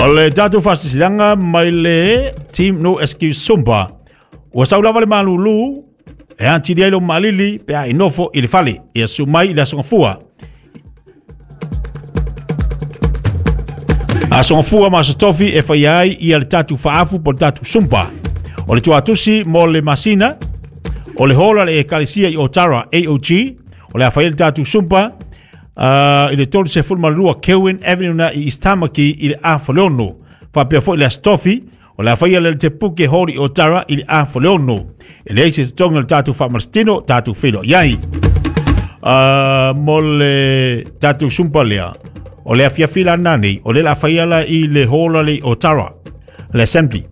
O le tatou faasilasilaga mai le Team No Excuse Zumba. Ua sau lava le malūlū e atili ai lou maalili pe a i nofo i le fale. Ia susu mai i le Aso Gafua. Aso Gafua ma Aso Tofi e faia ai ia le tatou faaafu po o le tatou Zumba. O le tuatusi mo le masina o le hall a le Ekalesia i Otara AOG o le a fai ai le tatou Zumba i le 32 Kelwyn Avenue na i East Tamaki i le 6:30. Faapea foi le Aso Tofi o le a faia le Te Puke Hall i Otara i le 6:30. E leai se totogi o le tatou faamalositino, tatou feiloai ai. Mo le tatou Zumba lea, o le afiafi la lena nei, o le la faia la i le hall le i Otara, le Assembly.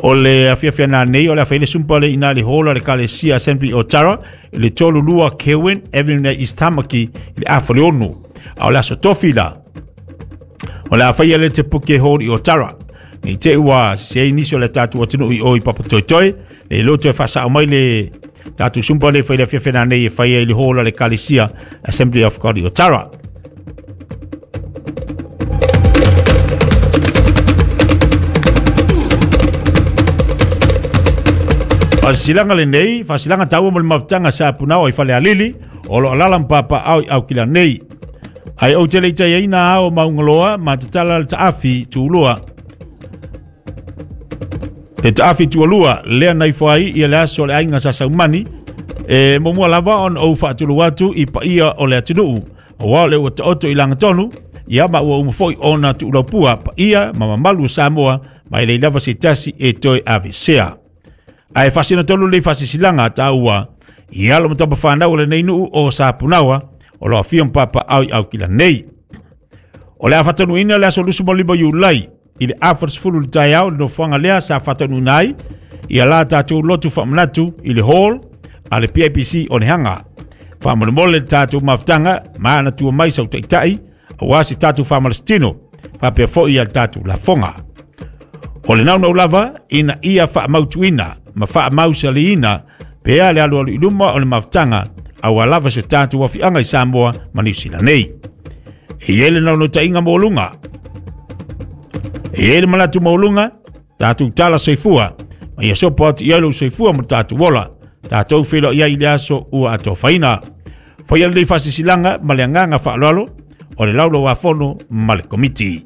O le afiafi ana nei, o le a faia le Zumba le ina le hall le Kalesia Assembly Otara, i le 32 Kelwyn Avenue na East Tamaki i le 6:30. A o le aso tofi la, o le a faia le Te Puke Hall i Otara. Nei te ua se ai nisi o le tatou atunuu i o i Papatoetoe, le loto e faasao mai le tatou Zumba le fai le afiafi ana nei e fai ai le hall a le Kalesia Assembly of God i Otara. Faasilasilaga lenei, faasilasilaga taua mo le mafutaga sa punao i Falealili, o lo o alaala ma papaaao i Aukila nei. Ai ou te le i taiaina ao Maungaloa ma tatala le taafi tulua. Le taafi tualua lea na ifo ai ia le aso o le aiga sa Saumani, e muamua lava ona ou faatulou atu i paia o le atunuu, aua o le ua taoto i lagatonu, ia ma ua uma foi ona tuulaupua paia ma mamalu o Samoa, ma e leai lava se tasi e toe avesea. Ae faasino tonu lenei faasilasilaga taua i alo ma tama fanau o lenei nuu o Sapunaoa, o lo afio ma papaao i Aukila nei. O le a faataunuuina le aso 25 Iulai i le 40 le taeao le nofoaga lea sa faataunuuina ai ia la tatou lotu faamanatu i le hall a le PIPC o Nehaga. Faamolemole le tatou mafutaga ma ana tua mai sau taitai aua se tatou faamalositino faapea foi ia le tatou lafoga. O le naunau lava ina ia faamautuina ma faamausaliina pea le alualu i luma o le mafutaga aua lava se tatou afiaga i Samoa ma Niu Sila nei. E i ai le naunautaiga maualuga, e i ai le manatu maualuga, tatou tala soifua, ma ia sopo atu i ai lou soifua ma lo tatou ola, tatou feiloai ai i le aso ua atofaina. Faia lenei faasilasilaga ma le agaga faaaloalo o le Laulau-a-Fono ma le Komiti.